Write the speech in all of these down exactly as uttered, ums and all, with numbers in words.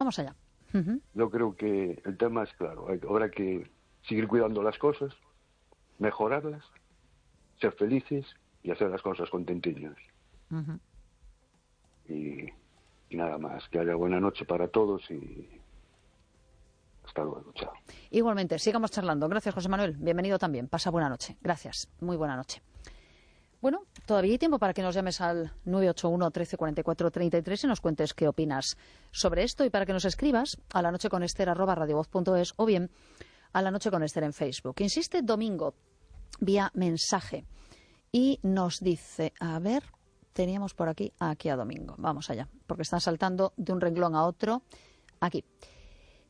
vamos allá. Uh-huh. Yo creo que el tema es claro. Hay, habrá que seguir cuidando las cosas, mejorarlas, ser felices y hacer las cosas contentillos. Uh-huh. Y, y nada más. Que haya buena noche para todos y hasta luego. Chao. Igualmente, sigamos charlando. Gracias, José Manuel. Bienvenido también. Pasa buena noche. Gracias. Muy buena noche. Bueno, todavía hay tiempo para que nos llames al nueve ocho uno, trece, cuarenta y cuatro, treinta y tres y nos cuentes qué opinas sobre esto, y para que nos escribas a la noche con Ester arroba radiovoz punto es o bien a la noche con Ester en Facebook. Insiste Domingo vía mensaje y nos dice, a ver, teníamos por aquí, aquí a Domingo, vamos allá, porque están saltando de un renglón a otro, aquí.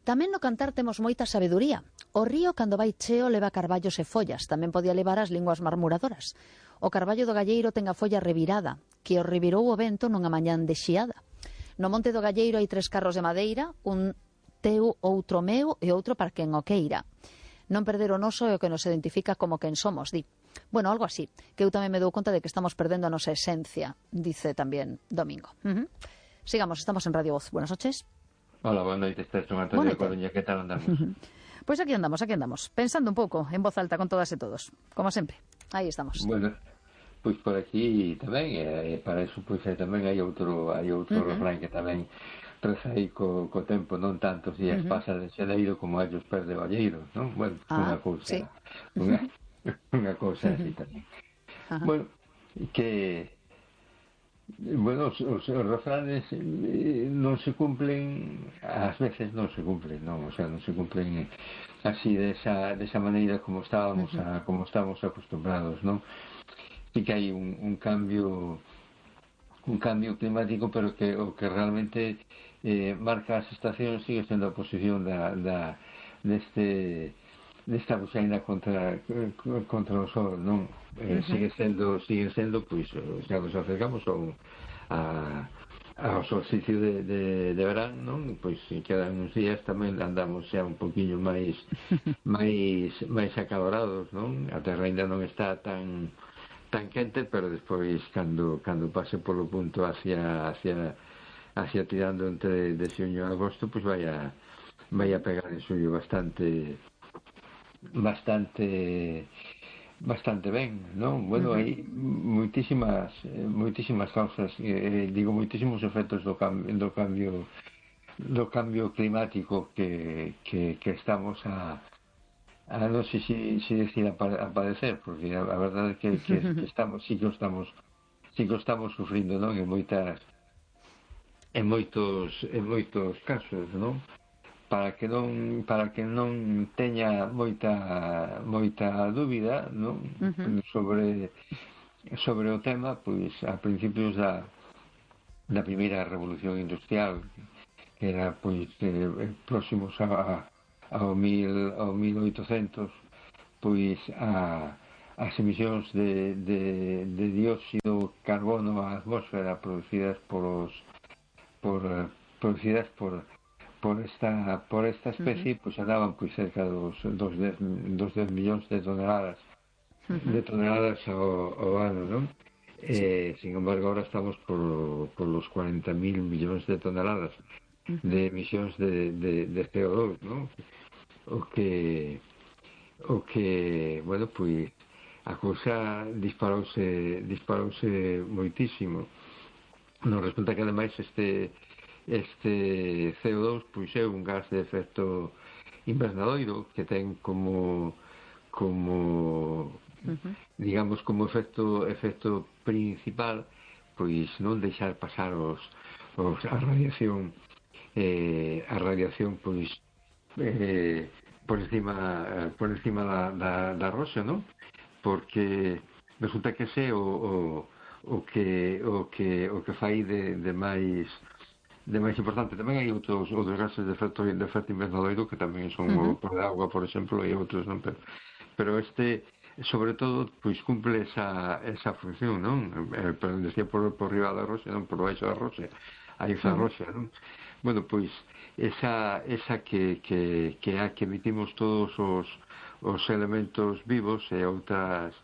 Tamén no cantar temos moita sabeduría. O río cando vai cheo leva carballos e follas, tamén podía levar as linguas marmuradoras. O carballo do galleiro ten a folla revirada, que o revirou o vento nunha mañán de xiada. No monte do galleiro hai tres carros de madeira, un teu, outro meu e outro para quen o queira. Non perder o noso é o que nos identifica como quen somos, di. Bueno, algo así, que eu tamén me dou conta de que estamos perdendo a nosa esencia, dice tamén Domingo. Uh-huh. Sigamos, estamos en Radio Voz. Buenas noches. Hola, buenas noches, son Antonio de Coruña, ¿qué tal andamos? Pues aquí andamos, aquí andamos, pensando un pouco, en voz alta con todas e todos, como sempre, aí estamos. Bueno, pois por aquí tamén, e para eso pois tamén hai outro hai outro uh-huh. refrán que tamén reza aí co, co tempo, non tantos días uh-huh. pasa de xaneiro como ellos perde o valleiro, non? Bueno, ah, unha cousa, sí. unha, unha cousa así tamén. Uh-huh. Bueno, que Bueno, os, os, os refranes eh, non se cumplen, ás veces non se cumplen, non, o sea, non se cumplen así desa, desa maneira como estábamos a, como estábamos acostumbrados, non? Sí que hai un, un cambio un cambio climático, pero que o que realmente eh, marca as estacións sigue sendo a posición da, da deste desta buxaina contra contra o sol, non? Eh, uh-huh. sigue sendo sigue sendo pois xa nos acercamos ao a, ao solsticio de, de, de verán, non? Pois quedan uns días tamén andamos xa un poquinho máis máis máis acalorados, non? A terra ainda non está tan tan quente, pero despois cando cando pase polo punto hacia hacia hacia tirando entre de xuño a agosto, pois vai a vai a pegar en suyo bastante bastante bastante ben, non? Bueno, uh-huh. hai moitísimas moitísimas causas, eh, digo moitísimos efectos do cambio do cambio do cambio climático que, que, que estamos a, a non sei se si, si decir a, a padecer, porque a, a verdade é que, que, que estamos, sí que estamos sí que estamos sufrindo, non? En moitas en moitos en moitos casos, non? Para que non para que non teña moita moita dúbida, non? Uh-huh. sobre sobre o tema, pois a principios da da primeira revolución industrial, que era pois eh, próximos a, ao mil ao mil oitocentos, pois a as emisións de, de, de dióxido de carbono á atmósfera producidas por os por producidas por por esta por esta especie, uh-huh. pois andaban pois cerca dos dos dez millóns de toneladas uh-huh. de toneladas ao, ao ano, non? Sí. Eh, sin embargo, ahora estamos por, por los cuarenta mil millóns de toneladas uh-huh. de emisións de, de, de C O dos, non? O que o que, bueno, pois a cousa disparouse disparouse moitísimo. Non, resulta que ademais este este C O dos pois é un gas de efecto invernadoiro que ten como como uh-huh. digamos como efecto efecto principal pois non deixar pasar os, os a radiación eh, a radiación pois eh, por encima por encima da, da, da roxa, non? Porque resulta que ese o, o, o que o que o que fai de, de máis de máis importante. Tamén hai outros, outros gases de efecto, de efecto invernadoiro que tamén son uh-huh. o por agua, por exemplo, e outros, non? Pero, pero este, sobre todo, pois cumple esa, esa función, non? Eh, pero decía por, por riba da roxa, non? Por baixo da roxa, hai esa uh-huh. roxa, non? Bueno, pois, esa, esa que, que, que a que emitimos todos os, os elementos vivos e outras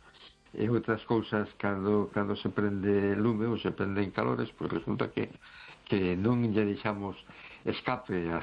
e outras cousas cando, cando se prende lume ou se prenden calores, pois resulta que que non lle deixamos escape a